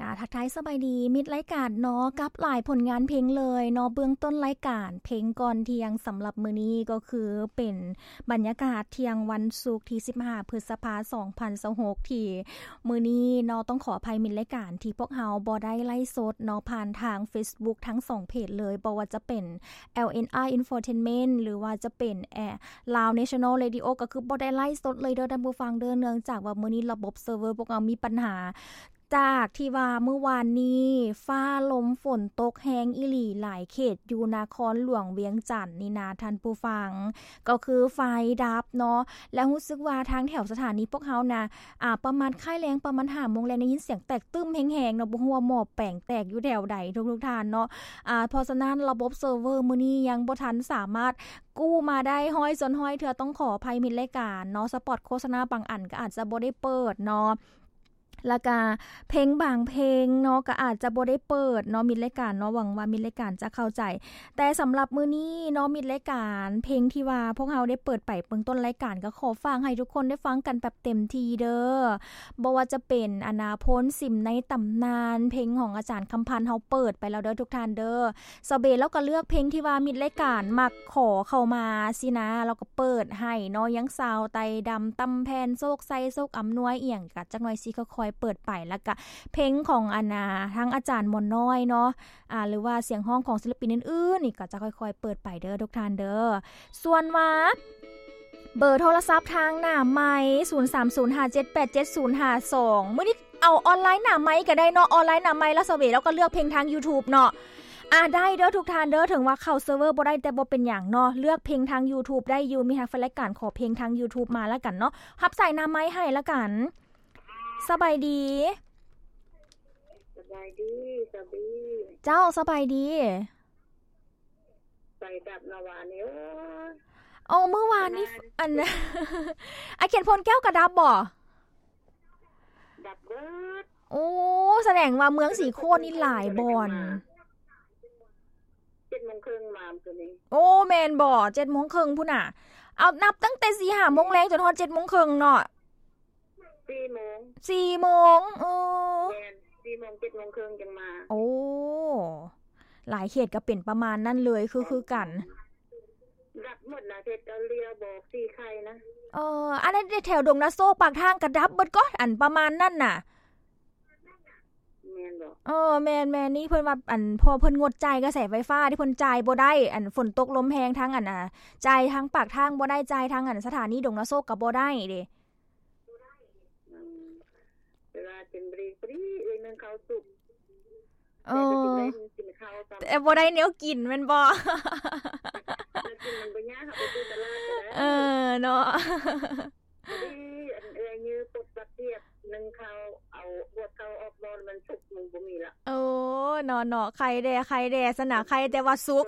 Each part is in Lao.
ອ່າ ທັກທາຍສະບາຍດີມິດລາຍການເນາະ ກັບຫຼາຍຜົນງານເພງເລີຍເນາະ. ເບື້ອງຕົ້ນລາຍການເພງກ່ອນທ່ຽງສຳລັບມື້ນີ້ ກໍຄືເປັນບັນຍາກາດທ່ຽງວັນສຸກທີສິບຫ້າ ພຶດສະພາ ສອງພັນຊາວຫົກ ທີ່ມື້ນີ້ເນາະ ຕ້ອງຂໍອະໄພມິດລາຍການທີ່ພວກເຮົາບໍ່ໄດ້ໄລຟ໌ສົດເນາະ ຜ່ານທາງເຟສບຸກທັງສອງເພຈເລີຍ ບໍ່ວ່າຈະເປັນ ແອລເອັນອາ Infotainment ຫຼືວ່າຈະເປັນ ແອ Lao National Radio ກໍຄືບໍ່ໄດ້ໄລຟ໌ສົດເລີຍເດີທ່ານຜູ້ຟັງເດີ ເນື່ອງຈາກວ່າມື້ນີ້ລະບົບເຊີເວີພວກເຮົາມີບັນຫາ ຈາກທີ່ວ່າມື້ວານນີ້ຟ້າລົມຝົນຕົກແຮງອີ່ຫຼີ ຫຼາຍເຂດຢູ່ນະຄອນຫຼວງວຽງຈັນນີ້ນະທ່ານຜູ້ຟັງ ກໍຄືໄຟດັບເນາະ ແລະ ຮູ້ສຶກວ່າທາງແຖວສະຖານີພວກເຮົານະ ອ່າ ປະມານຄ້າຍແລງປະມານຫ້າໂມງແລງ ໄດ້ຍິນສຽງແຕກຕຶ້ມແຮງໆເນາະ ບໍ່ຮູ້ວ່າໝໍ້ແປງແຕກຢູ່ແຖວໃດທຸກໆທ່ານເນາະ. ອ່າ ເພາະສະນັ້ນລະບົບເຊີເວີມື້ນີ້ຍັງບໍ່ທັນສາມາດກູ້ມາໄດ້ຮ້ອຍສ່ວນຮ້ອຍເທື່ອ ຕ້ອງຂໍອະໄພມິດລາຍການເນາະ. ສະປອດໂຄສະນາບາງອັນກໍອາດຈະບໍ່ໄດ້ເປີດເນາະ ແລ້ວກະເພງບາງເພງເນາະ ກໍອາດຈະບໍ່ໄດ້ເປີດເນາະ ມິດລາຍການເນາະ. ຫວັງວ່າມິດລາຍການຈະເຂົ້າໃຈ. ແຕ່ສຳລັບມື້ນີ້ເນາະ ມິດລາຍການ ເພງທີ່ວ່າພວກເຮົາໄດ້ເປີດໄປເບື້ອງຕົ້ນລາຍການ ກໍຂໍຝາກໃຫ້ທຸກຄົນໄດ້ຟັງກັນແບບເຕັມທີ່ເດີ. ບໍ່ວ່າຈະເປັນ ອາ ໂພນຊິມໃນຕຳນານ ເພງຂອງອາຈານຄຳພັນ ເຮົາເປີດໄປແລ້ວເດີທຸກທ່ານເດີ. ສາວເບລາວກໍເລືອກເພງທີ່ວ່າມິດລາຍການມັກຂໍເຂົ້າມາຊີ້ນະ ລາວກໍເປີດໃຫ້ເນາະ. ຍັງສາວໄຕດຳ ຕຳແຜ່ນ ໂຊກໄຊ ໂຊກອຳນວຍ ອີ່ຫຍັງ ກະຈັກໜ່ອຍຊິຄ່ອຍໆເປີດໄປ. ແລ້ວກະເພງຂອງ ອັນ ອາ ທາງອາຈານໝໍນ້ອຍເນາະ ອາ ຫຼືວ່າສຽງຮ້ອງຂອງສິລະປິນອື່ນໆນີ້ ກໍຈະຄ່ອຍໆເປີດໄປເດີທຸກທ່ານເດີ. ສ່ວນວ່າເບີໂທລະສັບທາງໜ້າໄມ ສູນສາມສູນຫ້າເຈັດແປດເຈັດສູນຫ້າສອງ ມື້ນີ້ເອົາອອນລາຍໜ້າໄມກໍໄດ້ເນາະ. ອອນລາຍໜ້າໄມ ລາວສະເວ ລາວກໍເລືອກເພງທາງ YouTube ເນາະ. ອາ ໄດ້ເດີທຸກທ່ານເດີ ເຖິງວ່າເຂົ້າເຊີເວີບໍ່ໄດ້ ແຕ່ບໍ່ເປັນຫຍັງເນາະ ເລືອກເພງທາງ YouTube ໄດ້ຢູ່. ມີຮັກແຟນລາຍການ ຂໍເພງທາງ YouTube ມາລະກັນເນາະ. ຮັບສາຍໜ້າໄມໃຫ້ລະກັນ. ສະບາຍດີ. ສະບາຍດີ ສະບາຍດີ. ເຈົ້າ ສະບາຍດີ. ໄຟດັບເນາະວານນີ້. ໂອ້ຍ ເອົາ ມື້ວານນີ້ ອັນ ອາຄຽນໂພນແກ້ວກໍດັບບໍ່? ດັບເບີດ. ໂອ້ ສະແດງວ່າເມືອງສີໂຄດນີ້ຫຼາຍບ່ອນ. ເຈັດໂມງເຄິ່ງມາມື້ນີ້. ໂອ້ ແມ່ນບໍ່? ເຈັດໂມງເຄິ່ງພຸ້ນນະ. ເອົາ ນັບຕັ້ງແຕ່ສີ່ຫ້າໂມງແລງຈົນຮອດເຈັດໂມງເຄິ່ງເນາະ. ສີ່ໂມງ. ສີ່ໂມງ. ເອີ ແມ່ນ ສີ່ໂມງ ເຈັດໂມງເຄິ່ງຈັ່ງມາ. ໂອ້ ຫຼາຍເຂດກໍເປັນປະມານນັ້ນເລີຍ ຄື ຄືກັນ. ດັບໝົດນະ ເຂດເກົາຫຼີບອກສີໄຂ່ນະ. ເອີ ອັນນັ້ນແຖວດົງນາໂຊກ ປາກທາງກໍດັບເບິດກໍ ອັນປະມານນັ້ນນະ. ແມ່ນບໍ່? ເອີ ແມ່ນໆ ນີ້ເພິ່ນວ່າ ອັນ ເພາະເພິ່ນງົດຈ່າຍກະແສໄຟຟ້າ ທີ່ເພິ່ນຈ່າຍບໍ່ໄດ້ ອັນ ຝົນຕົກລົມແຮງ ທາງ ອັນ ອາ ຈ່າຍທາງປາກທາງບໍ່ໄດ້ ຈ່າຍທາງ ອັນ ສະຖານີດົງນາໂຊກກໍບໍ່ໄດ້ເດ້. ອືມ ແຕ່ວ່າເປັນບຣີບຣີ ເອື້ອຍໜຶ່ງເຂົ້າສຸກ. ເອີ ແຕ່ກໍຊິໄດ້ກິນເຂົ້າຊ້ຳ ແຕ່ບໍ່ໄດ້ແນວກິນແມ່ນບໍ່? ແນວກິນມັນບໍ່ຍາກ ເຮົາໄປຊື້ຕະຫຼາດກໍໄດ້. ເອີ ເນາະ ພໍດີ ອັນ ເອື້ອຍຍື້ປົດບັກກຽບໜຶ່ງເຂົ້າ ເອົາຫວດເຂົ້າອອກໝໍ້ ມັນສຸກ ມັນບໍ່ມີລະ. ໂອ້ ເນາະໆ ໄຄແດ່ ໄຄແດ່ຊັ້ນນະ ໄຄແຕ່ວ່າສຸກ.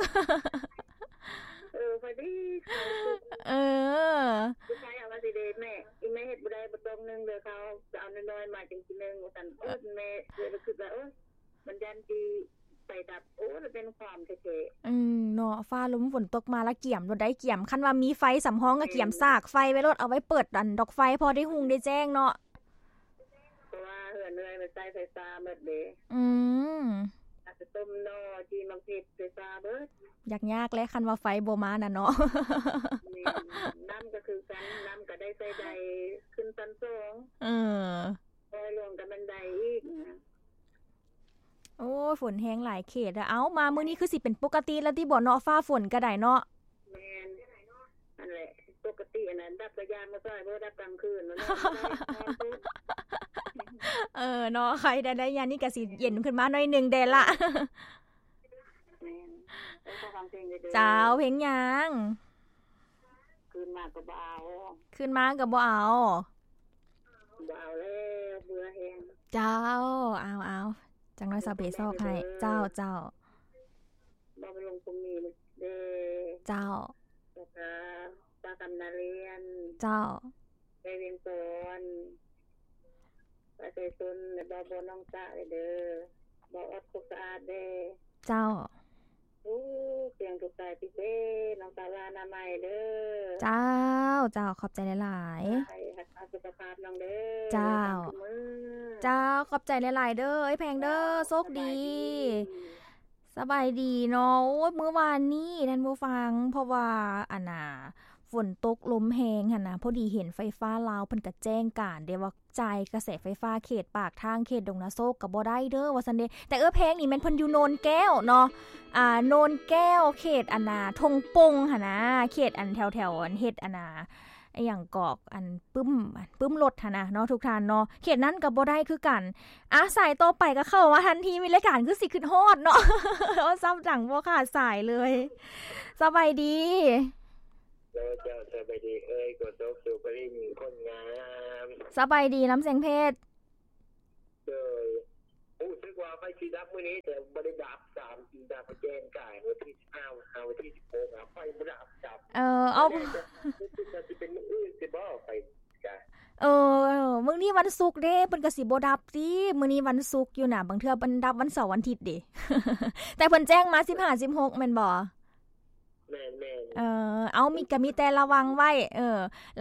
ເອີ ພໍດີເຂົ້າສຸກ. ເອີ ລູກຊາຍເອົາວ່າຊິເດ ແມ່ ອີແມ່ເຮັດບໍ່ໄດ້ ບໍ່ຕ້ອງໜຶ້ງເດີ ເຂົ້າຈະເອົານ້ອຍໆມາຈັ່ງຊິໜຶ້ງ ວ່າຊັ້ນ. ເອີ ແມ່ເລີຍຄິດວ່າ ໂອ້ຍ ມັນຢ້ານຊິໄຟດັບ. ໂອ້ ລະແມ່ນຄວາມແທ້ໆ. ອືມ ເນາະ ຟ້າລົມຝົນຕົກມາລະກຽມໂລດໄດ໋ ກຽມ ຄັນວ່າມີໄຟສຳຮອງກໍກຽມສາກໄຟໄວ້ໂລດ ເອົາໄວ້ເປີດ ອັນ ດອກໄຟ ພໍໄດ້ຮຸ່ງໄດ້ແຈ້ງເນາະ. ເພາະວ່າເຮືອນເອື້ອຍມັນໃຊ້ໄຟຟ້າໝົດເດ້. ອືມ ຕັກຕົ້ມໜໍ່ ຈີ່ໝາກເຜັດ ໄຟຟ້າເບິດ. ຍາກໆແຫຼະ ຄັນວ່າໄຟບໍ່ມານະເນາະ. ແມ່ນ ນ້ຳກໍຄືກັນ ນ້ຳກໍໄດ້ໃຊ້ໄດ ຂຶ້ນຊັ້ນສອງ. ເອີ ຄອຍຫຼວງກໍແມ່ນໄດອີກ. ໂອ້ຍ ຝົນແຮງຫຼາຍເຂດ. ເອົ້າ ມາມື້ນີ້ຄືຊິເປັນປົກກະຕິແລ້ວຕິບໍ່ເນາະ ຟ້າຝົນກໍໄດ້ເນາະ. ແມ່ນ ຫັ້ນແຫຼະ ປົກກະຕິອັນນັ້ນ ດັບກະຢາມາຊ່ອຍ ບໍ່ດັບກາງຄືນ ນອນເປີດ. ເອີ ເນາະ ໄຄແດ່ ໄດ້ຍາມນີ້ກະຊິເຢັນຂຶ້ນມາໜ້ອຍໜຶ່ງແດ່ລະ. ແມ່ນ ໄດ້ຟັງເພງເດີ. ເຈົ້າ ເພງຫຍັງ? ຄືນມາກໍບໍ່ເອົາ. ຄືນມາກໍບໍ່ເອົາ. ບໍ່ເອົາແລ້ວ ເບື່ອແຮງ. ເຈົ້າ ເອົາໆ ຈັກໜ້ອຍສາວເບຊອກໃຫ້. ເຈົ້າ ເຈົ້າ. ບໍ່ໄປລົງຄົມມີເດີ. ເຈົ້າ. ແລ້ວກະປາກຳນາລຽນ. ເຈົ້າ. ໄປວຽງສອນ. ປະຊາຊົນ ແລະ ບ່າວ ບ່າວນ້ອງຕາເດີ. ບ່າວອອດຄົກສະອາດເດ້. ເຈົ້າ. ໂອ້ ສຽງທຸກສາຍຕິເດ ນ້ອງຕາລານາໄມເດີ. ເຈົ້າ ເຈົ້າ ຂອບໃຈຫຼາຍໆ. ໃຫ້ຮັກສາສຸຂະພາບນ້ອງເດີ. ເຈົ້າ. ຕາມຄືມື້. ເຈົ້າ ຂອບໃຈຫຼາຍໆເດີ ເອື້ອຍແພງເດີ ໂຊກດີ. ສະບາຍດີເນາະ. ໂອ້ຍ ມື້ວານນີ້ທ່ານຜູ້ຟັງ ເພາະວ່າ ອັນນ່າ ຝົນຕົກລົມແຮງຫັ້ນນະ, ພໍດີເຫັນໄຟຟ້າລາວເພິ່ນກະແຈ້ງການເດ້ວ່າ ຈ່າຍກະແສໄຟຟ້າເຂດປາກທາງ ເຂດດົງນາໂຊກກະບໍ່ໄດ້ເດີ ວ່າຊັ້ນເດ. ແຕ່ເອື້ອຍແພງນີ້ແມ່ນເພິ່ນຢູ່ໂນນແກ້ວເນາະ, ອ່າ ໂນນແກ້ວ ເຂດອັນນ່າ ທົ່ງປົ່ງຫັ້ນນະ, ເຂດອັນແຖວໆ ອັນເຮັດອັນນ່າ ອີ່ຫຍັງກອກ ອັນປຶ້ມ ປຶ້ມລົດຫັ້ນນະເນາະ ທຸກທ່ານເນາະ, ເຂດນັ້ນກະບໍ່ໄດ້ຄືກັນ. ອ່າ ສາຍຕໍ່ໄປກະເຂົ້າມາທັນທີ ມີລາຍການຄືຊິຄຶດຮອດເນາະ ເວົ້າຊ້ຳດັງບໍ່ຂາດສາຍເລີຍ. ສະບາຍດີ. ໂດຍ ເຈົ້າ ສະບາຍດີເອື້ອຍ ໂຄສົກ ສຸພະລິນ ຄົນງາມ. ສະບາຍດີ ລຳແສງເພັດ. ໂດຍ ຮູ້ສຶກວ່າໄຟຊິດັບມື້ນີ້ ແຕ່ບໍ່ໄດ້ດັບຊ້ຳ ດັບແຈ້ງກາຍ ວັນທີສິບຫ້າ ຫາວັນທີສິບຫົກ ອະ ໄຟບໍ່ດັບຊ້ຳ. ເອີ ເອົາ ແຕ່ ແຕ່ ແຕ່ຊິເປັນມື້ອື່ນຊິບໍ່ ໄຟກະ ເອີ ມື້ນີ້ວັນສຸກເດ້ ເພິ່ນກະຊິບໍ່ດັບຕິ ມື້ນີ້ວັນສຸກຢູ່ນະ, ບາງເທື່ອເພິ່ນດັບວັນເສົາວັນທິດເດ້ ແຕ່ເພິ່ນແຈ້ງມາສິບຫ້າ ສິບຫົກ ແມ່ນບໍ່? ແມ່ນໆ. ເອີ ເອົາ ມີ ກະມີແຕ່ລະວັງໄວ້ ເອີ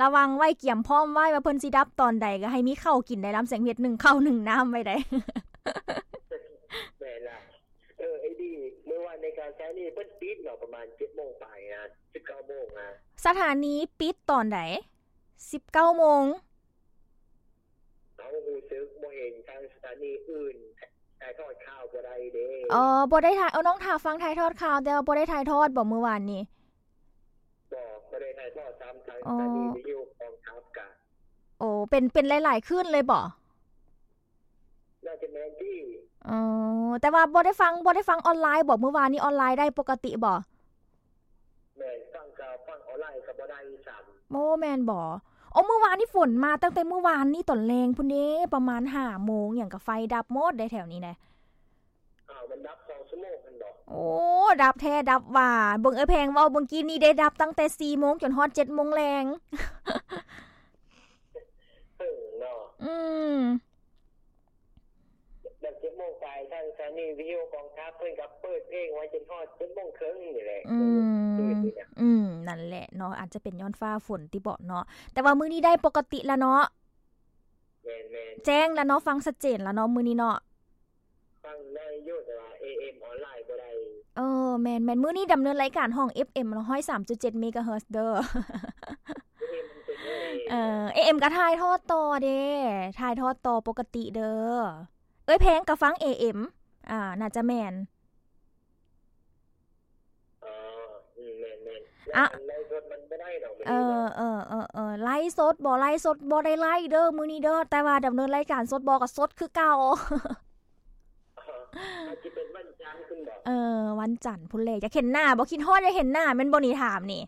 ລະວັງໄວ້ ກຽມພ້ອມໄວ້ວ່າເພິ່ນຊິດັບຕອນໃດ ກະໃຫ້ມີເຂົ້າກິນໄດ້ ລຳແສງເພັດ ໜຶ້ງເຂົ້າໜຶ້ງນ້ຳໄວ້ໄດ້. ແມ່ນລະ. ເອີ ໄອ້ດີ ມື້ວານໃນການສະຖານີເພິ່ນປິດເນາະ ປະມານເຈັດໂມງປາຍນະ ສິບເກົ້າໂມງນະ. ສະຖານີປິດຕອນໃດ? ສິບເກົ້າໂມງ. ເຮົາຮູ້ສຶກບໍ່ເຫັນທາງສະຖານີອື່ນຖ່າຍທອດຂ່າວບໍ່ໄດ້ເດ້. ອໍ ບໍ່ໄດ້ຖ່າຍ ເອີ ນ້ອງຖ້າຟັງຖ່າຍທອດຂ່າວ ແຕ່ວ່າບໍ່ໄດ້ຖ່າຍທອດບໍມື້ວານນີ້? ບໍ່ ບໍ່ໄດ້ຖ່າຍທອດຊ້ຳ ທາງ ອໍ ສະຖານີວິທະຍຸກອງທັບກະ. ໂອ້ ເປັນ ເປັນຫຼາຍໆ ຄືນເລີຍບໍ? ໜ້າຈະແມ່ນຕິ. ອໍ ແຕ່ວ່າບໍ່ໄດ້ຟັງ ບໍ່ໄດ້ຟັງອອນລາຍບໍ? ມື້ວານນີ້ອອນລາຍໄດ້ປົກກະຕິບໍ? ແມ່ນ ຟັງກະຟັງອອນລາຍກະບໍ່ໄດ້ຊ້ຳ. ໂອ້ ແມ່ນບໍ? ໂອ້ ມື້ວານນີ້ຝົນມາຕັ້ງແຕ່ມື້ວານນີ້ຕອນແລງພຸ້ນເດ້ ປະມານຫ້າໂມງຫຍັງກະໄຟດັບໝົດເດ້ແຖວນີ້ນະ. ອ້າວ ມັນດັບສອງຊົ່ວໂມງຫັ້ນບໍ? ໂອ້ ດັບແທ້ດັບວ່າ ເບິ່ງເອື້ອຍແພງເວົ້າເມື່ອກີ້ນີ້ເດ້ ດັບຕັ້ງແຕ່ສີ່ໂມງຈົນຮອດເຈັດໂມງແລງ. ເອີ ເນາະ ອືມ ແບບເຈັດໂມງປາຍ ທາງສະຖານີວິທະຍຸກອງທັບເພິ່ນກະເປີດເພງໄວ້ຈົນຮອດເຈັດໂມງເຄິ່ງນີ້ແຫຼະ. ອືມ ອືມ ນັ້ນແຫຼະເນາະ ອາດຈະເປັນຍ້ອນຟ້າຝົນຕິບໍເນາະ ແຕ່ວ່າມື້ນີ້ໄດ້ປົກກະຕິລະເນາະ. ແມ່ນໆ ແຈ້ງລະເນາະ ຟັງຊັດເຈນລະເນາະ ມື້ນີ້ເນາະ. ຟັງໄດ້ຢູ່ ແຕ່ວ່າ ເອເອັມ ອອນລາຍບໍ່ໄດ້. ເອີ ແມ່ນໆ ມື້ນີ້ດຳເນີນລາຍການຫ້ອງ ເອັຟເອັມ ຮ້ອຍສາມຈຸດເຈັດ ເມກາເຮີດ ເດີ. ເອີ ເອເອັມກະຖ່າຍທອດຕໍ່ເດ້ ຖ່າຍທອດຕໍ່ປົກກະຕິເດີ. ເອື້ອຍແພງກະຟັງ ເອເອັມ ອ່າ ໜ້າຈະແມ່ນ. ອໍ ອືມ ແມ່ນໆ ອະ ໄລຟ໌ສົດມັນບໍ່ໄດ້ດອກມື້ນີ້ເນາະ. ເອີ ເອີ ເອີ ເອີ ໄລຟ໌ສົດບໍ່ ໄລຟ໌ສົດບໍ່ໄດ້ໄລຟ໌ເດີມື້ນີ້ເດີ ແຕ່ວ່າດຳເນີນລາຍການສົດບໍ່ກະສົດຄືເກົ່າ. ອາດຈະເປັນວັນຈັນພຸ້ນບໍ? ເອີ ວັນຈັນພຸ້ນແຫຼະ. ຢາກເຫັນໜ້າບໍ່? ຄິດຮອດຢາກເຫັນໜ້າແມ່ນບໍ່ນີ້? ຖາມນີ້.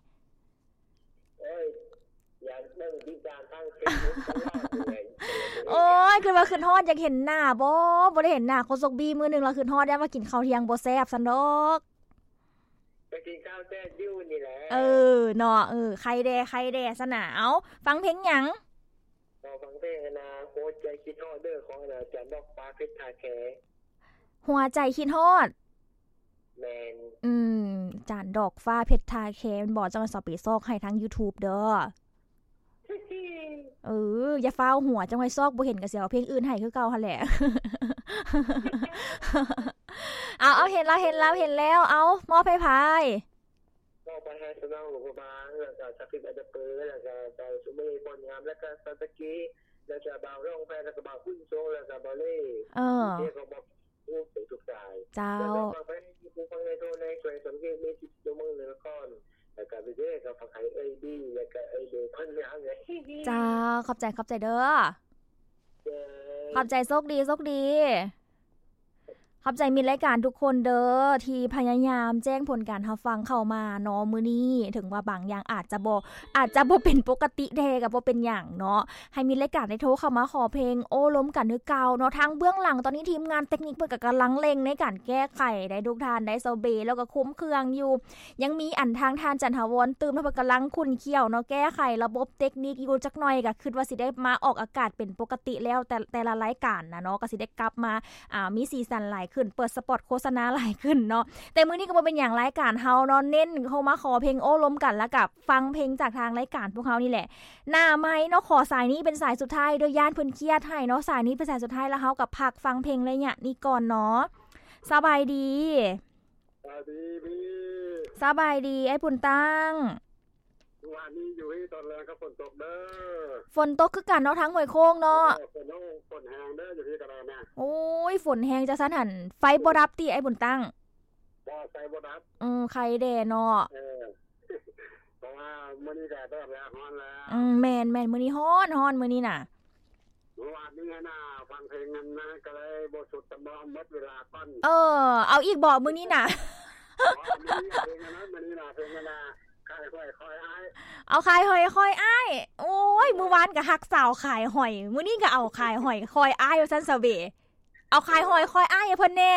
ໂອ້ຍ ຢາກເບິ່ງຕິດຕາມທາງເຟສບຸກຕະຫຼອດເລີຍ. ໂອ້ຍ ຄືວ່າຄິດຮອດຢາກເຫັນໜ້າບໍ? ບໍ່ໄດ້ເຫັນໜ້າໂຄສົກບີມື້ໜຶ່ງລະ ຄິດຮອດ ຢ້ານວ່າກິນເຂົ້າທ່ຽງບໍ່ແຊບຊັ້ນດອກ. ກະກິນເຂົ້າແຊບຢູ່ນີ້ແຫຼະ. ເອີ ເນາະ ເອີ ໄຄແດ່ ໄຄແດ່ຊັ້ນນະ. ເອົ້າ ຟັງເພງຫຍັງ? ຂໍຟັງເພງອັນນ່າ ຫົວໃຈຄິດຮອດເດີ ຂອງອັນນ່າ ຈານດອກຟ້າເພັດທ່າແຄ. ຫົວໃຈຄິດຮອດ. ແມ່ນ. ອືມ ຈານດອກຟ້າເພັດທ່າແຄແມ່ນບໍ່? ຈັ່ງວ່າເຮົາໄປຊອກໃຫ້ທາງຢູທູບເດີ. ເອີ ຢ່າຟ້າວຫົວ ຈັ່ງວ່າຊອກບໍ່ເຫັນກະຊິເອົາເພງອື່ນໃຫ້ຄືເກົ່າຫັ້ນແຫຼະ. ເອົາ ເອົາ ເຫັນແລ້ວ ເຫັນແລ້ວ ເຫັນແລ້ວ. ເອົາ ມອບໃຫ້ໃຜ? ມອບໄປໃຫ້ສະໜອງຫຼວງພະບາງ ແລ້ວກະສັກສິດອັນດະເປີ ແລ້ວກະເຈົ້າສຸເມພອນງາມ ແລ້ວກະຊາວຕະກີ ແລ້ວກະບ່າວຣອງແພ ແລ້ວກະບ່າວບຸນສົງ ແລ້ວກະບ່າວເລ່. ເອີ ເຈົ້າ ແລ້ວກະຝາກໄປໃຫ້ຜູ້ຟັງໃນໂທໃນແຂວງສະຫວັນນະເຂດ ມີສິບຊົ່ວໂມງເໜືອນະຄອນ ແລ້ວກະເດ ກະຝາກໃຫ້ເອື້ອຍບີ ແລ້ວກະເອື້ອຍເດ ຄົນງາມເລີຍ. ເຈົ້າ ຂອບໃຈ ຂອບໃຈເດີ. ເຈົ້າ ຂອບໃຈ ໂຊກດີ ໂຊກດີ. ຂອບໃຈມິດລາຍການທຸກຄົນເດີ ທີ່ພະຍາຍາມແຈ້ງຜົນການຮັບຟັງເຂົ້າມາເນາະ. ມື້ນີ້ເຖິງວ່າບາງຢ່າງອາດຈະບໍ່ ອາດຈະບໍ່ເປັນປົກກະຕິແທ້ກະບໍ່ເປັນຫຍັງເນາະ. ໃຫ້ມິດລາຍການໄດ້ໂທເຂົ້າມາຂໍເພງ ໂອ້ລົມກັນຄືເກົ່າເນາະ. ທາງເບື້ອງຫຼັງຕອນນີ້ທີມງານເຕັກນິກເພິ່ນກະກຳລັງເລັ່ງໃນການແກ້ໄຂໄດ໋ ທຸກທ່ານໄດ້. ຊາວເບ ແລ້ວກະຄຸມເຄື່ອງຢູ່ ຍັງມີອັນທາງທ່ານຈັນທະວອນຕື່ມ ເພິ່ນກຳລັງຂຸ້ນຂ້ຽວເນາະ ແກ້ໄຂລະບົບເຕັກນິກຢູ່. ຈັກໜ່ອຍກະຄິດວ່າຊິໄດ້ມາອອກອາກາດເປັນປົກກະຕິແລ້ວ ແຕ່ ແຕ່ລະລາຍການນະເນາະ ກະຊິໄດ້ກັບມາ ອ່າ ມີສີສັນຫຼາຍ ຂຶ້ນ ເປີດສະປອດໂຄສະນາຫຼາຍຂຶ້ນເນາະ. ແຕ່ມື້ນີ້ກໍບໍ່ເປັນຫຍັງ ລາຍການເຮົາເນາະ ເນັ້ນເຂົ້າມາຂໍເພງໂອ້ລົມກັນ ແລ້ວກໍຟັງເພງຈາກທາງລາຍການພວກເຮົານີ້ແຫຼະ. ໜ້າໄມເນາະ ຂໍສາຍນີ້ເປັນສາຍສຸດທ້າຍເດີ້ ຢ້ານເພິ່ນຄຽດໃຫ້ເນາະ. ສາຍນີ້ເປັນສາຍສຸດທ້າຍ ແລ້ວເຮົາກໍພັກຟັງເພງໄລຍະນີ້ກ່ອນເນາະ. ສະບາຍດີ. ສະບາຍດີພີ່. ສະບາຍດີອ້າຍບຸນຕັ້ງ. ມື້ວານນີ້ຢູ່ທີ່ຕອນແລງກໍຝົນຕົກເດີ້. ຝົນຕົກຄືກັນເນາະ ທາງຫ້ວຍໂຄ້ງເນາະ. ເອີ ຝົນ ຝົນແຮງເດີ້ ຢູ່ທີ່ກໍໄດ້ນະ. ໂອ້ຍ ຝົນແຮງຈັ່ງຊັ້ນຫັ້ນ ໄຟບໍ່ດັບຕິອ້າຍບຸນຕັ້ງ? ບໍ່ ໄຟບໍ່ດັບ. ເອີ ໄຄແດ່ເນາະ. ເອີ ເພາະວ່າມື້ນີ້ກໍແດດແລ້ວ ຮ້ອນແລ້ວ. ອືມ ແມ່ນໆ ມື້ນີ້ຮ້ອນ ຮ້ອນມື້ນີ້ນະ. ເມື່ອວານນີ້ຫັ້ນນະ ຟັງເພງນັ້ນນະ ກໍເລີຍບໍ່ສຸດ ສຳຮອງໝົດເວລາກ່ອນ. ເອີ ເອົາອີກບໍມື້ນີ້ນະ? ອໍ ມື້ນີ້ເພງອັນນັ້ນ ມື້ນີ້ນະ ເພງອັນນະ ຂາຍຫອຍຄອຍອ້າຍ. ເອົາຂາຍຫອຍຄອຍອ້າຍ. ໂອ້ຍ ມື້ວານກໍຮັກສາວຂາຍຫອຍ ມື້ນີ້ກໍເອົາຂາຍຫອຍຄອຍອ້າຍວ່າຊັ້ນຊະເບ. ເອົາຂາຍຫອຍຄອຍອ້າຍໃຫ້ເພິ່ນແດ່.